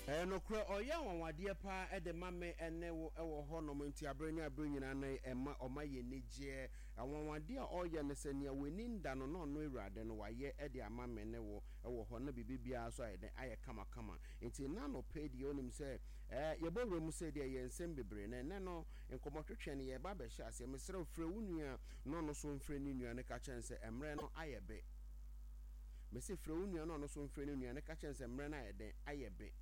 Ɛyɛ nokorɛ, ɔyɛ anwanwadeɛ paa de ma me ne wo wɔ hɔ nom, nti aberɛ ne aberɛ nyinaa no ɛma ɔma yɛ anigyeɛ. Anwanwadeɛ a ɔyɛ no sɛ nea w'ani nda no na ɔno Awurade no wayɛ de ama me ne wo wɔ hɔ na biribi biara nso ayɛ dɛn ayɛ kamakama. Nti nnɛ anɔpa yi deɛ wonim sɛ ɛɛ yɛbɔ wura mu sei deɛ ɛyɛ nsɛm bebree na ɛnnɛ no nkɔmmɔtwetwe no yɛreba abɛhyɛ aseɛ. Mesrɛ wo frɛ wo nua na ɔno nso mfrɛ ne nua no ka kyerɛ no sɛ mmerɛ no ayɛ be. Mese frɛ wo nua na ɔno nso mfrɛ ne nua no ka kyerɛ no sɛ mmerɛ no ayɛ dɛn ayɛ be.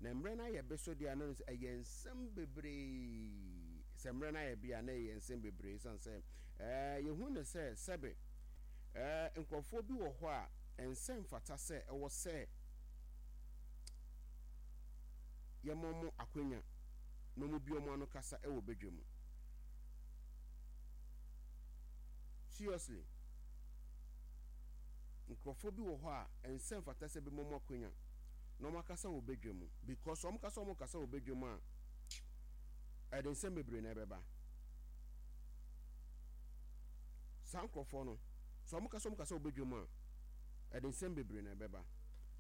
Na mmerɛ no ayɛ be so deɛ a na sɛ ɛyɛ nsɛm bebree. Sɛ mmerɛ no ayɛ be a na ɛyɛ nsɛm bebree ɛsiane sɛ ɛɛ yɛhu ne sɛ sɛbe ɛɛ nkurɔfoɔ bi wɔ hɔ a ɛnsɛ mfata sɛ ɛwɔ sɛ yɛma wɔn akwanya na wɔn bi wɔn ano kasa wɔ badwa mu. Seriously. Nkurɔfoɔ bi wɔ hɔ a ɛnsɛ mfata sɛ bɛma wɔn akwanya na wɔn akasa wɔ badwa mu because wɔn kasa wɔn kasa wɔ badwa mu a ɛde nsɛm bebree na ɛbɛba. Saa nkurɔfoɔ no sɛ wɔn kasa wɔn kasa wɔ badwa mu a ɛde nsɛm bebree na ɛbɛba.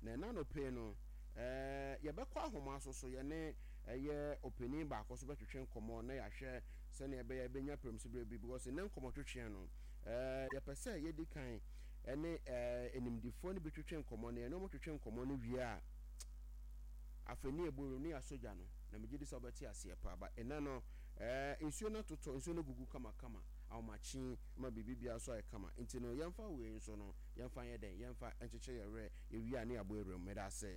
Na ɛna anɔpa yi no ɛɛ yɛbɛkɔ ahoma so so yɛne ɛyɛ ɔpanin baako so bɛtwetwe nkɔmmɔ na yɛahwɛ sɛnea ɛbɛyɛ ɛbɛnya pɛrɛmsiberɛ bi because nnɛ nkɔmmɔtwetweɛ no ɛɛ yɛpɛ sɛ yɛdi kan ɛne ɛɛ animdifoɔ no bi twetwe nkɔmmɔ na yɛne wɔn twetwe nkɔmmɔ no wie a afei ne yɛbɔ wuram ne yɛasɔ gya no na megye di sɛ wobɛte aseɛ paa ba ɛnɛ no ɛɛ nsuo no atotɔ nsuo no gugu kamakama ahomakye ma biribi biara nso ayɛ kama nti no yɛmfa wei nso no yɛmfa nyɛ dɛn yɛmfa nkyekyere yɛn werɛ yɛwie a ne yɛabɔ awuram meda ase.